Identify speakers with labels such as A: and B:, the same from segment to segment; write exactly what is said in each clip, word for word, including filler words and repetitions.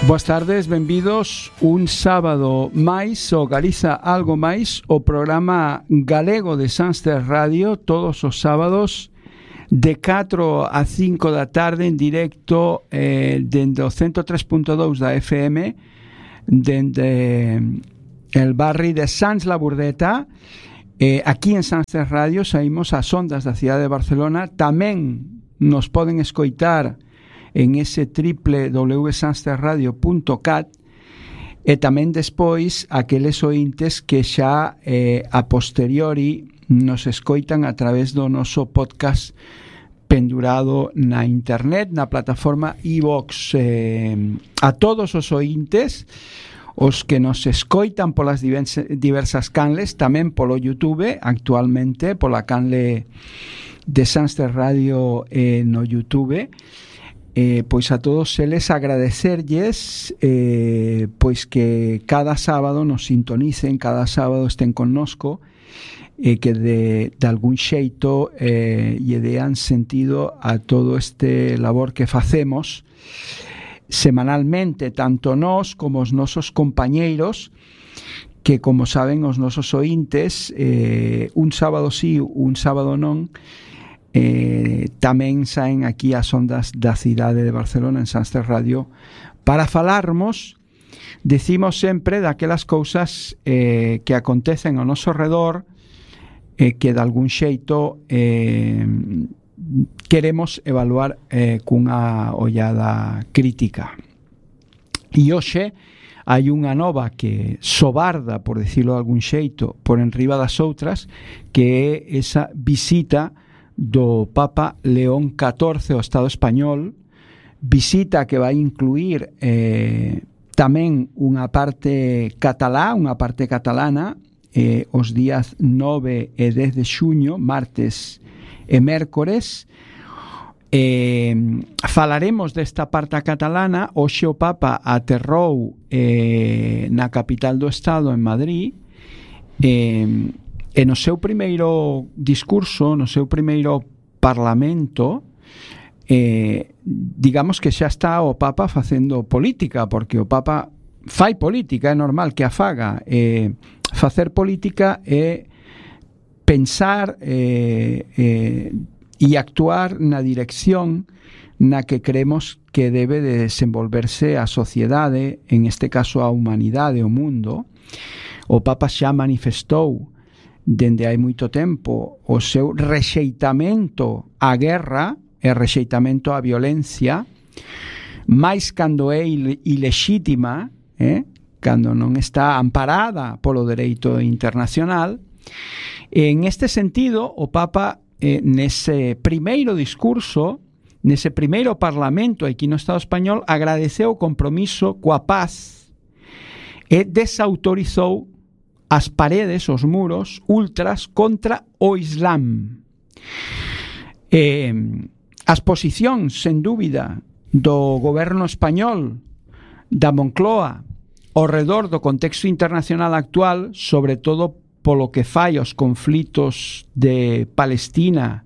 A: Boas tardes, benvidos un sábado máis o Galiza Algo Máis, o programa galego de Sanster Radio, todos os sábados de catro a cinco da tarde en directo eh, dende o ciento tres punto dous da F M, dende el barrio de Sans la Burdeta. Eh, aquí en Sanster Radio saímos ás ondas da cidade de Barcelona. Tamén nos poden escoitar en ese w w w punto sansterradio punto cat e tamén despois aqueles ointes que xa eh, a posteriori nos escoitan a través do noso podcast pendurado na internet, na plataforma iVox. Eh, a todos os ointes, os que nos escoitan polas diversas canles, tamén polo YouTube, actualmente pola canle de Sanster Radio eh, no YouTube. Eh, pois a todos eles agradecerlles eh, pois que cada sábado nos sintonicen, cada sábado estén connosco, eh, que de, de algún xeito eh, lle dean sentido a todo este labor que facemos semanalmente, tanto nós como os nosos compañeiros, que como saben os nosos ointes, eh, un sábado sí, un sábado non, Eh, tamén saen aquí as ondas da cidade de Barcelona en Sanster Radio para falarmos, decimos sempre, daquelas cousas eh, que acontecen ao noso redor, eh, que de algún xeito eh, queremos evaluar eh, cunha ollada crítica. E hoxe hai unha nova que sobarda, por decirlo de algún xeito, por enriba das outras, que é esa visita do Papa León catorce ao Estado español, visita que vai incluir eh, tamén unha parte catalá, unha parte catalana, eh, os días nove e dez de xuño, martes e mércores. Eh, falaremos desta parte catalana. Hoxe o Papa aterrou eh, na capital do Estado, en Madrid, eh, e no seu primeiro discurso, no seu primeiro parlamento, eh, digamos que xa está o Papa facendo política, porque o Papa fai política, é normal que a faga. Eh, facer política é pensar eh, eh, e actuar na dirección na que creemos que debe de desenvolverse a sociedade, en este caso a humanidade, o mundo. O Papa xa manifestou dende hai moito tempo o seu rexeitamento á guerra e rexeitamento á violencia, máis cando é ilexítima, eh? cando non está amparada polo dereito internacional. En este sentido, o Papa eh, nese primeiro discurso, nese primeiro parlamento aquí no Estado español, agradeceu o compromiso coa paz e desautorizou as paredes, os muros ultras contra o Islam. Eh, as posicións, sen dúbida, do goberno español, da Moncloa, ao redor do contexto internacional actual, sobre todo polo que fai aos conflitos de Palestina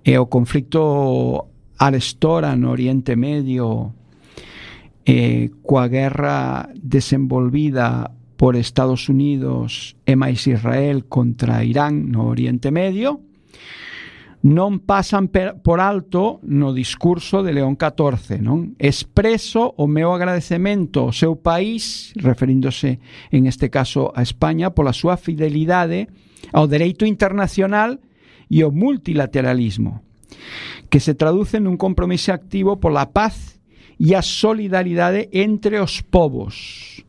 A: e o conflito arestora no Oriente Medio, eh, coa guerra desenvolvida por Estados Unidos e máis Israel contra Irán no Oriente Medio, non pasan per, por alto no discurso de León catorce, non? Expreso o meu agradecemento ao seu país, referíndose en este caso a España, pola súa fidelidade ao dereito internacional e ao multilateralismo, que se traduce nun compromiso activo pola paz e a solidaridade entre os povos.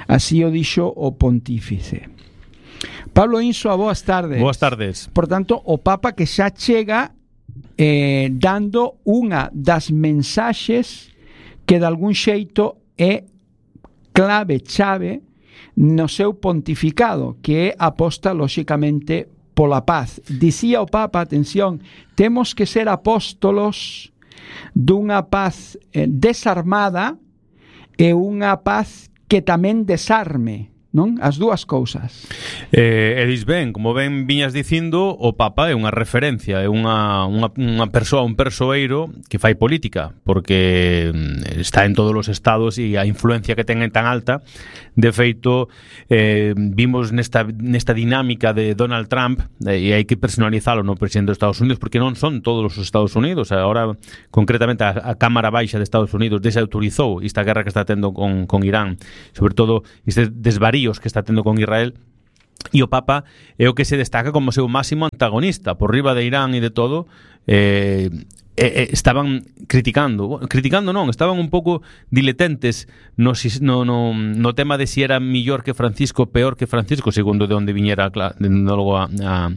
A: Así o dixo o pontífice. Pablo Insua, boas tardes.
B: Boas tardes.
A: Por tanto, o Papa que xa chega eh, dando unha das mensaxes que de algún xeito é clave, chave no seu pontificado, que é aposta lóxicamente pola paz. Dicía o Papa, atención, temos que ser apóstolos dunha paz eh, desarmada e unha paz que tamén desarme, non? As dúas cousas.
B: Eh, e dis ben, como ben viñas dicindo, o Papa é unha referencia, é unha, unha, unha persoa, un persoeiro que fai política, porque está en todos os estados e a influencia que ten é tan alta. De feito, eh, vimos nesta, nesta dinámica de Donald Trump, eh, e hai que personalizalo no presidente dos Estados Unidos, porque non son todos os Estados Unidos. Agora, concretamente, a, a Cámara Baixa de Estados Unidos desautorizou esta guerra que está tendo con, con Irán, sobre todo este desvarío que está tendo con Israel, e o Papa é o que se destaca como seu máximo antagonista por riba de Irán e de todo. eh, eh, estaban criticando criticando non, estaban un pouco diletentes no, no, no, no tema de si era millor que Francisco, peor que Francisco, segundo de onde viñera logo a, a,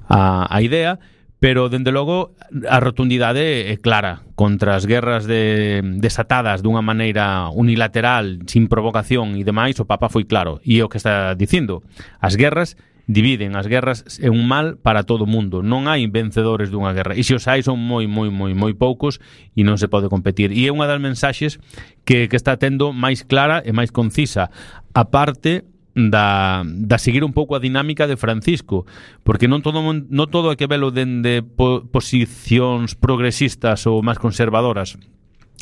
B: a, a idea. Pero, dende logo, a rotundidade é clara contra as guerras de, desatadas dunha maneira unilateral, sin provocación e demais. O Papa foi claro, e é o que está dicindo: as guerras dividen, as guerras é un mal para todo o mundo, non hai vencedores dunha guerra, e se os hai son moi, moi, moi, moi poucos e non se pode competir. E é unha das mensaxes que, que está tendo máis clara e máis concisa, a parte da, da seguir un pouco a dinámica de Francisco, porque non todo non todo é que velo dende po, posicións progresistas ou máis conservadoras,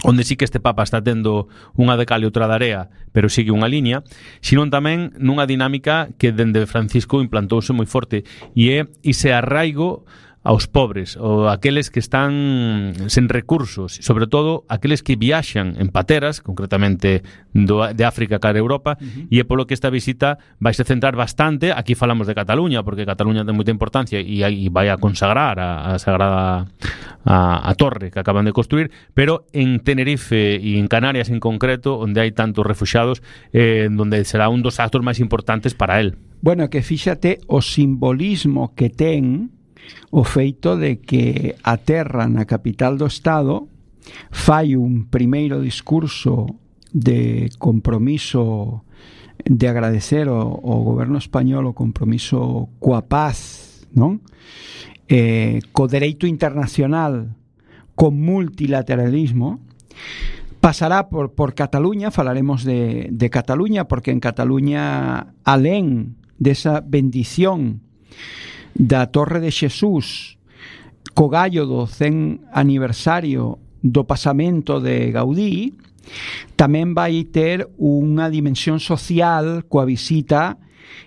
B: onde sí que este Papa está tendo unha de cal e outra de area, pero sigue unha liña, sino tamén nunha dinámica que dende Francisco implantouse moi forte, e é ese arraigo aos pobres, ou aqueles que están sen recursos, sobre todo aqueles que viaxan en pateras, concretamente do, de África cara a Europa, uh-huh. E é polo que esta visita vai se centrar bastante. Aquí falamos de Cataluña, porque Cataluña ten moita importancia e, e vai a consagrar a, a Sagrada a, a torre que acaban de construir, pero en Tenerife e en Canarias en concreto, onde hai tantos refuxados, eh, onde será un dos actos máis importantes para él.
A: Bueno, que fíxate o simbolismo que ten o feito de que a terra na capital do Estado fai un primeiro discurso de compromiso, de agradecer ao, ao goberno español o compromiso coa paz, non? Eh, co dereito internacional, co multilateralismo. Pasará por, por Cataluña, falaremos de, de Cataluña, porque en Cataluña, alén desa bendición da Torre de Xesús, co gallo do cen aniversario do pasamento de Gaudí, tamén vai ter unha dimensión social coa visita,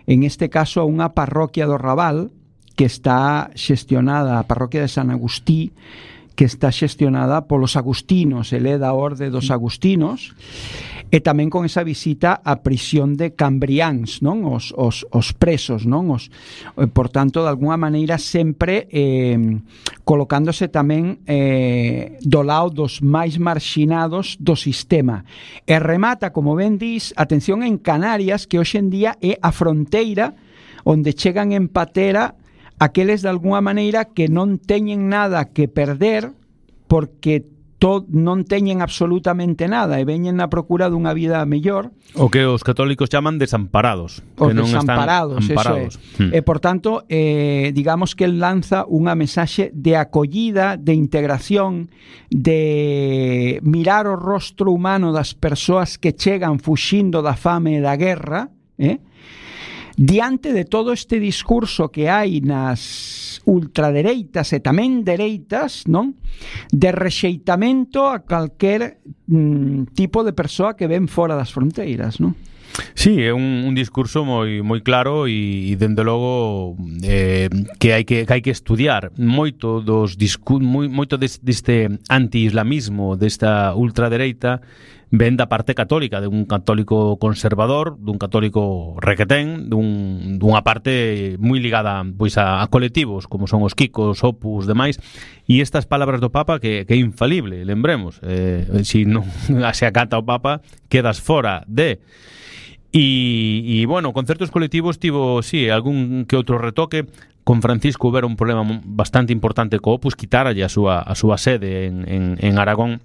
A: en este caso, a unha parroquia do Raval, que está xestionada, a parroquia de San Agustí, que está xestionada polos agustinos, ele é da orde dos agustinos, e tamén con esa visita á prisión de Cambriáns, non? Os, os, os presos, non? Os, por tanto, de alguna maneira sempre eh, colocándose tamén eh, do lado dos máis marxinados do sistema. E remata, como ben dis, atención, en Canarias, que hoxe en día é a fronteira onde chegan en patera aqueles de alguna maneira que non teñen nada que perder, porque to, non teñen absolutamente nada e veñen na procura dunha vida mellor.
B: O que os católicos chaman desamparados.
A: Os
B: que non
A: desamparados,
B: están amparados.
A: Eso é. Hmm. E, por tanto, eh, digamos que el lanza unha mensaxe de acollida, de integración, de mirar o rostro humano das persoas que chegan fuxindo da fame e da guerra, eh? Diante de todo este discurso que hai nas ultradereitas e tamén dereitas, non? De rexeitamento a calquer mm, tipo de persoa que ven fora das fronteiras, non?
B: Sí, é un, un discurso moi moi claro e, e dende logo eh, que hai que, que hai que estudiar moito dos discu- moi, moito des, deste anti-islamismo, desta ultradereita, ven da parte católica, de un católico conservador, dun católico requetén, dun, dunha parte moi ligada pois a, a colectivos, como son os Kikos, Opus, demais, e estas palabras do Papa que, que é infalible, lembremos, eh, se non se acata o Papa, quedas fora de... E, e bueno, con certos colectivos tivo, sí, algún que outro retoque. Con Francisco houbera un problema bastante importante co Opus, quitaralle a súa, a súa sede en, en, en Aragón,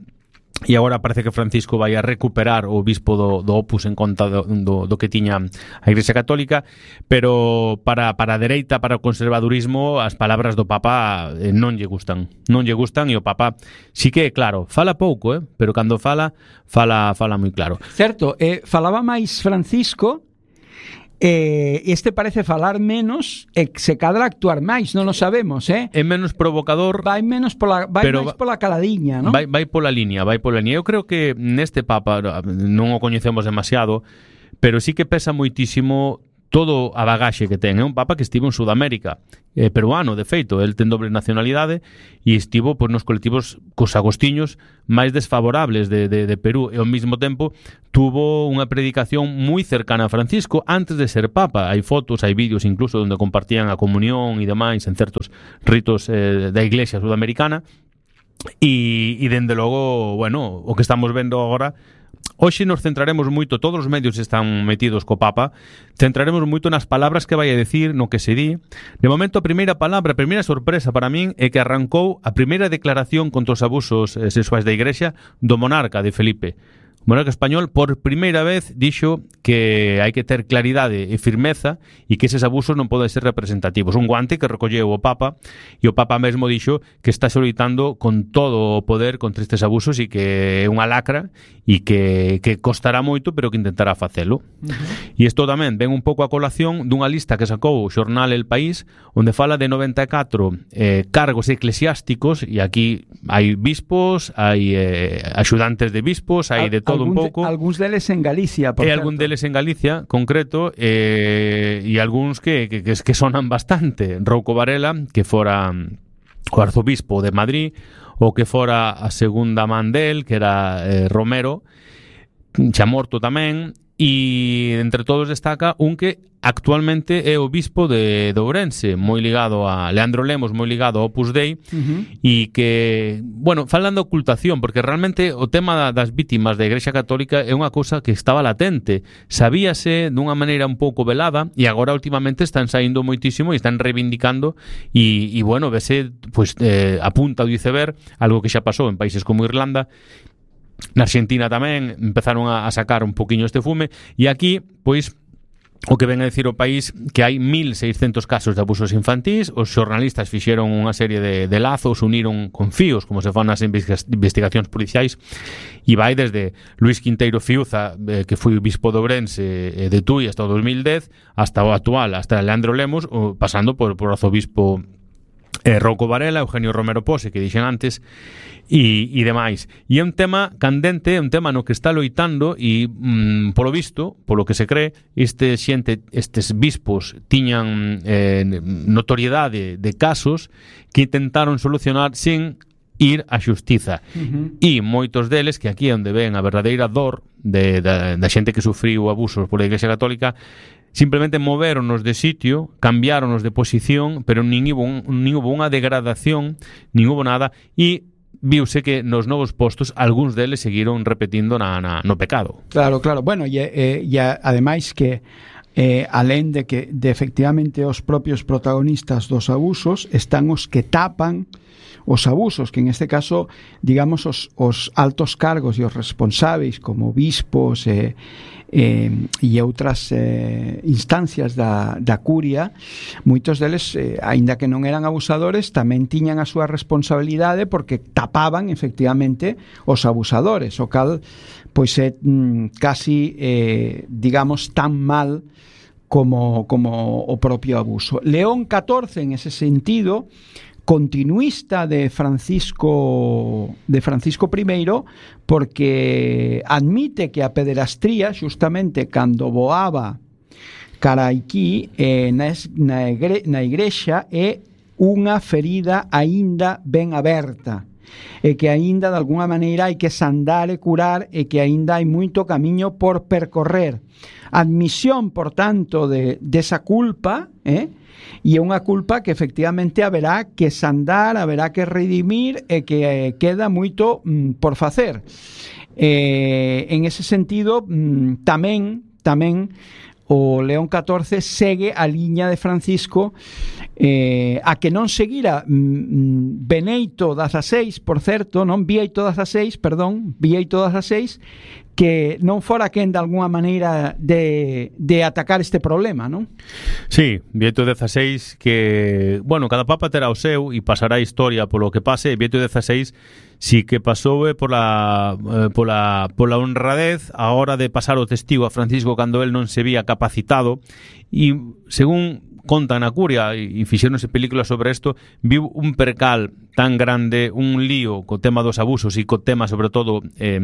B: e agora parece que Francisco vai a recuperar o bispo do, do Opus en conta do, do, do que tiña a Igrexa Católica, pero para, para a dereita, para o conservadurismo, as palabras do Papa eh, non lle gustan, non lle gustan, e o Papa sí que, claro, fala pouco, eh, pero cando fala, fala, fala moi claro.
A: Certo, eh, falaba máis Francisco eh, este parece falar menos e se cadra actuar máis, non o sabemos, eh?
B: É menos provocador,
A: vai menos pola, vai máis pola caladiña, non?
B: Vai, vai pola liña, vai pola liña. Eu creo que neste Papa non o coñecemos demasiado, pero sí que pesa moitísimo todo a bagaxe que ten. É un Papa que estivo en Sudamérica, é peruano, de feito, el ten doble nacionalidade e estivo pois, nos colectivos cos agostiños máis desfavorables de, de, de Perú e ao mesmo tempo tuvo unha predicación moi cercana a Francisco antes de ser Papa. Hai fotos, hai vídeos incluso onde compartían a comunión e demais en certos ritos eh, da Iglesia sudamericana e, e dende logo, bueno, o que estamos vendo agora. Hoxe nos centraremos moito, todos os medios están metidos co Papa, centraremos moito nas palabras que vai a decir, no que se di. De momento, a primeira palabra, a primeira sorpresa para min é que arrancou a primeira declaración contra os abusos sexuais da Igrexa do monarca de Felipe. O monarca español por primeira vez dixo que hai que ter claridade e firmeza e que eses abusos non poden ser representativos. Un guante que recolleu o Papa e o Papa mesmo dixo que está solicitando con todo o poder contra estes abusos e que é unha lacra e que, que costará moito pero que intentará facelo. Uh-huh. E isto tamén ven un pouco a colación dunha lista que sacou o xornal El País onde fala de noventa e catro eh, cargos eclesiásticos e aquí hai bispos, hai eh, axudantes de bispos, hai de todo un pouco.
A: Algúns deles en Galicia, por
B: certo. E algún deles en Galicia, concreto, eh, e algúns que, que, que sonan bastante. Rouco Varela, que fora o arzobispo de Madrid, o que fora a segunda man del, que era eh, Romero, xa morto tamén, e entre todos destaca un que actualmente é o bispo de, de Ourense, moi ligado a Leandro Lemos, moi ligado ao Opus Dei, uh-huh. e que, bueno, falan de ocultación, porque realmente o tema das vítimas da Igrexa Católica é unha cousa que estaba latente, sabíase dunha maneira un pouco velada, e agora últimamente están saindo moitísimo e están reivindicando, e, e bueno, vese, pues, eh, a punta do iceberg, algo que xa pasou en países como Irlanda. Na Argentina tamén empezaron a, a sacar un poquinho este fume, e aquí, pois, o que ven a decir o país que hai mil seiscentos casos de abusos infantís. Os xornalistas fixeron unha serie de, de lazos, uniron con fíos, como se fan nas investigacións policiais, e vai desde Luis Quinteiro Fiuza, eh, que foi bispo de Ourense eh, de Tui hasta o dos mil dez, hasta o actual, hasta Leandro Lemos, o, pasando por, por arzobispo eh, Rouco Varela, Eugenio Romero Pose, que dixen antes, e, e demais. E é un tema candente, é un tema no que está loitando e, mm, polo visto, polo que se cree, este xente, estes bispos tiñan eh, notoriedade de casos que intentaron solucionar sin ir á xustiza. Uh-huh. E moitos deles, que aquí é onde ven a verdadeira dor de, da, da xente que sufriu abusos pola Iglesia Católica, simplemente movéronos de sitio, cambiáronos de posición, pero nin hubo, un, nin hubo unha degradación, nin hubo nada, e viuse que nos novos postos algúns deles seguiron repetindo na, na, no pecado.
A: Claro, claro. Bueno, e, e, e ademais que eh, alén de que de efectivamente os propios protagonistas dos abusos están os que tapan os abusos, que en este caso, digamos, os, os altos cargos e os responsáveis como bispos e, eh, e outras eh, instancias da, da curia, moitos deles, eh, aínda que non eran abusadores, tamén tiñan a súa responsabilidade porque tapaban efectivamente os abusadores, o cal pois é mm, casi eh, digamos tan mal como, como o propio abuso. León catorce, en ese sentido, continuista de Francisco de Francisco I, porque admite que a pederastría, justamente cando voaba cara aquí eh, na, na, igre, na igrexa, é unha ferida aínda ben aberta, e que aínda de alguna maneira hai que sandar e curar, e que aínda hai moito camiño por percorrer. Admisión, por tanto, de desa culpa, eh? E é unha culpa que efectivamente haberá que sandar, haberá que redimir, e que eh, queda moito mm, por facer. Eh, en ese sentido, mm, tamén tamén o León catorce segue a liña de Francisco, eh, a que non seguira mm, Beneito dieciséis, por certo, non Bieito dieciséis, perdón, Bieito dieciséis, que non fora quen de alguna maneira de, de atacar este problema, non?
B: Sí, Bieito dieciséis, que, bueno, cada papa terá o seu e pasará a historia polo que pase. Bieito dieciséis sí que pasou eh, pola, eh, pola, pola honradez a hora de pasar o testigo a Francisco cando el non se vía capaz capacitado e, según contan na curia e fixéronse películas sobre isto, viu un percal tan grande, un lío co tema dos abusos e co tema sobre todo eh,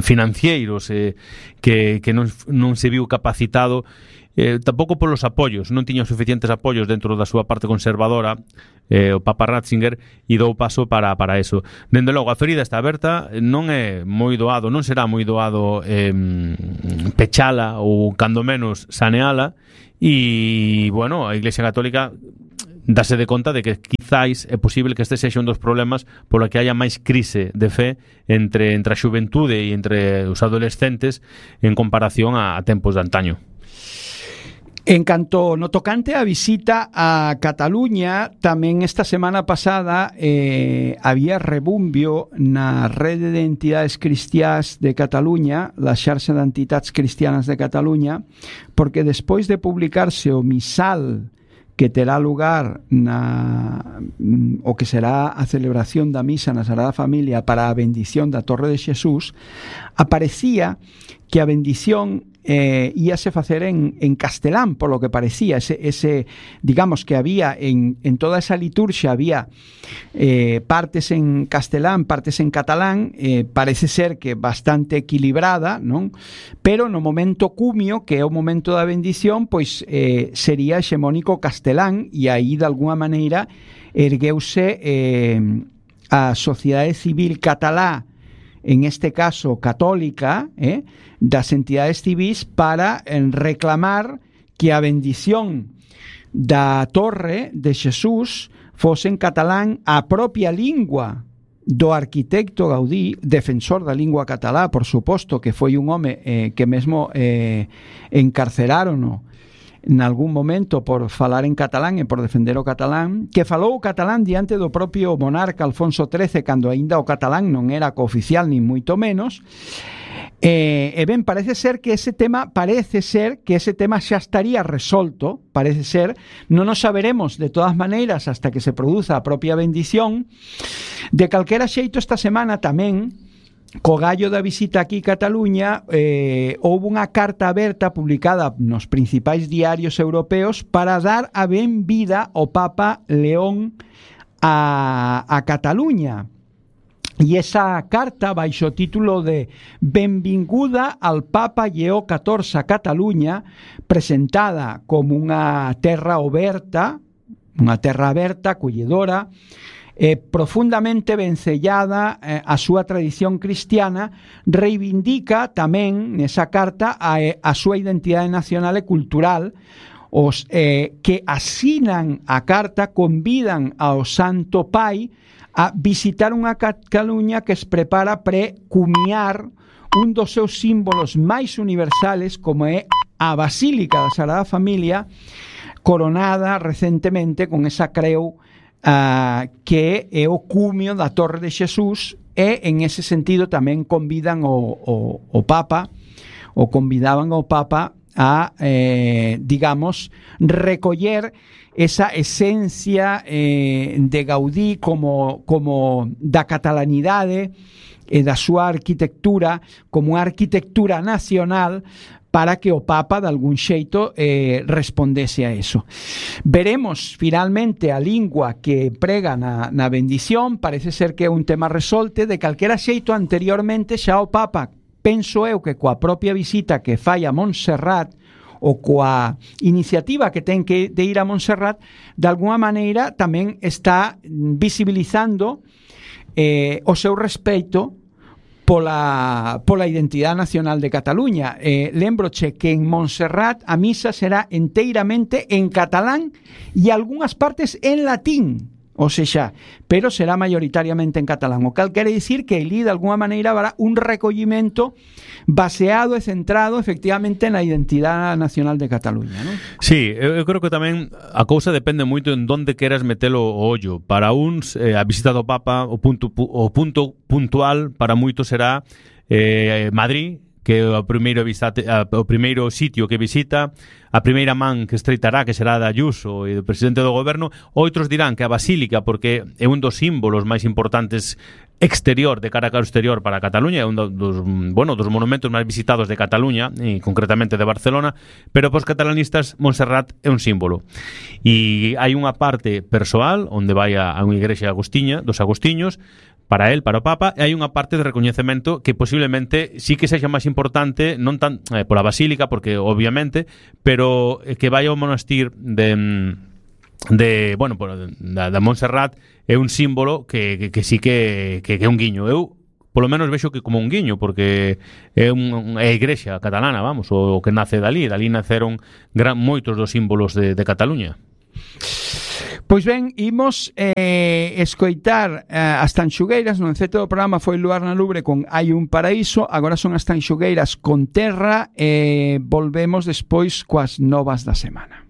B: financeiros eh, que, que non, non se viu capacitado eh, tampouco polos apoios, non tiña suficientes apoios dentro da súa parte conservadora eh, o Papa Ratzinger, e dou paso para, para eso. Dende logo, a ferida está aberta, non é moi doado, non será moi doado eh, pechala ou cando menos saneala. E, bueno, a Iglesia Católica dase de conta de que quizáis é posible que este sexa un dos problemas polo que haya máis crise de fe entre, entre a xuventude e entre os adolescentes en comparación a, a tempos de antaño.
A: En canto no tocante a visita a Cataluña, tamén esta semana pasada eh, había rebumbio na rede de entidades cristiás de Cataluña, la xarxa de entidades cristianas de Cataluña, porque despois de publicarse o misal que terá lugar na o que será a celebración da misa na Sagrada Familia para a bendición da Torre de Xesús, aparecía que a bendición eh, íase facer en, en castelán, por lo que parecía, ese, ese digamos que había en, en toda esa liturxia había eh, partes en castelán, partes en catalán, eh, parece ser que bastante equilibrada, non? Pero no momento cumio, que é o momento da bendición, pois eh, sería hexemónico castelán, e aí de alguna maneira ergueuse eh, a sociedade civil catalá, en este caso católica, eh, das entidades civis, para en reclamar que a bendición da Torre de Xesús fose en catalán, a propia lingua do arquitecto Gaudí, defensor da lingua catalá, por suposto, que foi un home eh, que mesmo eh, encarceraron en algún momento por falar en catalán e por defender o catalán, que falou o catalán diante do propio monarca Alfonso trece, cando aínda o catalán non era cooficial nin moito menos. E, e ben, parece ser que ese tema parece ser que ese tema xa estaría resolto, parece ser, non nos saberemos de todas maneiras hasta que se produza a propia bendición. De calquera xeito, esta semana tamén, co gallo da visita aquí a Cataluña, eh, houve unha carta aberta publicada nos principais diarios europeos para dar a ben vida ao Papa León a, a Cataluña. E esa carta, baixo o título de Benvinguda al Papa Lleó catorce a Cataluña, presentada como unha terra aberta, unha terra aberta, acolledora, Eh, profundamente vencellada eh, a súa tradición cristiana, reivindica tamén nesa carta a, a súa identidade nacional e cultural. Os eh, que asinan a carta convidan ao Santo Pai a visitar unha Cataluña que se prepara pre-cumiar un dos seus símbolos máis universales, como é a Basílica da Sagrada Familia, coronada recentemente con esa creu Uh, que é o cumio da Torre de Xesús, e en ese sentido tamén convidan o, o, o Papa, o convidaban ao Papa a, eh, digamos, recoller esa esencia eh, de Gaudí como, como da catalanidade e da súa arquitectura como unha arquitectura nacional, para que o Papa de algún xeito eh, respondese a eso. Veremos finalmente a lingua que prega na, na bendición. Parece ser que é un tema resolte. De calquera xeito, anteriormente xa o Papa, penso eu que coa propia visita que fai a Montserrat, ou coa iniciativa que ten que de ir a Montserrat, de alguna maneira tamén está visibilizando eh, o seu respeito pola, pola identidade nacional de Cataluña. Eh, lembroche que en Montserrat a misa será enteiramente en catalán e algunhas partes en latín, ou seja, pero será maioritariamente en catalán, o cal quere dicir que ali de alguna maneira habrá un recollimento baseado e centrado efectivamente na identidade nacional de Cataluña, non?
B: Sí, eu creo que tamén a cousa depende moito en donde queras metelo o ollo. Para uns, eh, a visita do Papa, o punto, o punto puntual para moitos será eh, Madrid, que é o primeiro, visate, o primeiro sitio que visita, a primeira man que estreitará, que será da Ayuso e do presidente do goberno. Outros dirán que a Basílica, porque é un dos símbolos máis importantes exterior, de cara ao exterior para Cataluña, é un dos, bueno, dos monumentos máis visitados de Cataluña e concretamente de Barcelona, pero para os catalanistas Montserrat é un símbolo. E hai unha parte persoal onde vai a, a unha igrexa agostiña, dos agostiños, para el, para o Papa, e hai unha parte de recoñecemento que posiblemente sí que sexa máis importante, non tan eh, pola Basílica, porque obviamente, pero eh, que vai ao monastir de de, bueno, da, da Montserrat é un símbolo que, que, que sí que, que, que é un guiño. Eu, polo menos, vexo que como un guiño, porque é un, é a igrexa catalana, vamos, o que nace dali. Dali naceron gran, moitos dos símbolos de, de Cataluña.
A: Pois ben, imos eh, escoitar eh, as Tanxugueiras. No enceto do programa foi Luar na Lubre con Hai un paraíso. Agora son as Tanxugueiras con Terra. E eh, volvemos despois coas novas da semana.